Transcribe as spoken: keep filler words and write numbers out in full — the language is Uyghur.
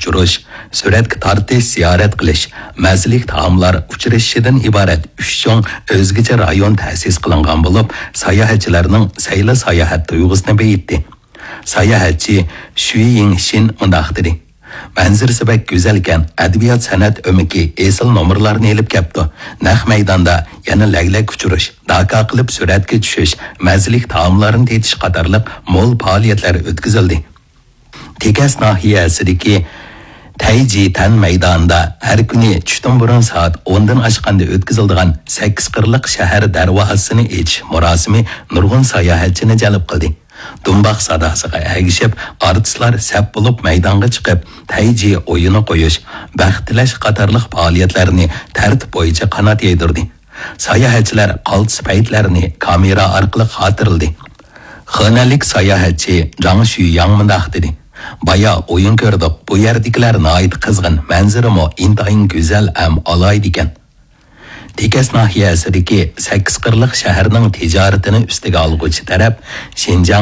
ئۇچۇرۇش، سۈرەتكە تارتىش، زىيارەت قىلىش، مەززىلىك تائاملار ئۇچرىشىشىدىن ئىبارەت ئۈچ چوڭ ئۆزگىچە رايون تەسىس قىلىنغان بولۇپ، ساياھەتچىلەرنىڭ سەيلە ساياھەت تۇيغۇسىنى بېيىتتى. ساياھەتچى شۈي يىڭشىن مۇنداق دېدى: مەنزىرىسى بەك گۈزەلكەن، ئەدەبىيات سەنئەت ئۆمىكى ئېسىل نومۇرلارنى ئېلىپ كەپتۇ. نەق مەيداندا يەنە لەگلەك ئۇچۇرۇش، داكا قىلىپ سۈرەتكە چۈشۈش، مەززىلىك تائاملارنى تېتىش قاتارلىق مول پائالىيەتلەر ئۆتكۈزۈلدى. تېكەس ناھىيەسىدىكى تەيجى تەن مەيدانىدا ھەر كۈنى چۈشتىن بۇرۇن سائەت ئوندىن ئاشقاندا ئۆتكۈزۈلىدىغان سەككىز قىرلىق شەھەر دەرۋازىسىنى ئېچىش مۇراسىمى نۇرغۇن ساياھەتچىنى جەلپ قىلدى. دۇمباق ساداسىغا ئەگىشىپ، ئارتىسلار سەپ بولۇپ مەيدانغا چىقىپ، تەيجى ئويۇنى قويۇش، بەخت تىلەش قاتارلىق پائالىيەتلەرنى تەرتىپ بويىچە قانات يايدۇردى. ساياھەتچىلەر قالتىس پەيتلەرنى كامېرا ئارقىلىق خاتىرىلىدى. خېنەنلىك ساياھەتچى جاڭ شۈيياڭ مۇنداق دېدى: بايا ئويۇن كۆردۇق، بۇ يەردىكىلەر ناھايىتى قىزغىن، مەنزىرىمۇ ئىنتايىن گۈزەل ھەم ئالاھىدە ئىكەن. تېكەس ناھىيەسىدىكى سەككىز قىرلىق شەھەرنىڭ تىجارىتىنى ئۈستىگە ئالغۇچى تەرەپ شىنجاڭ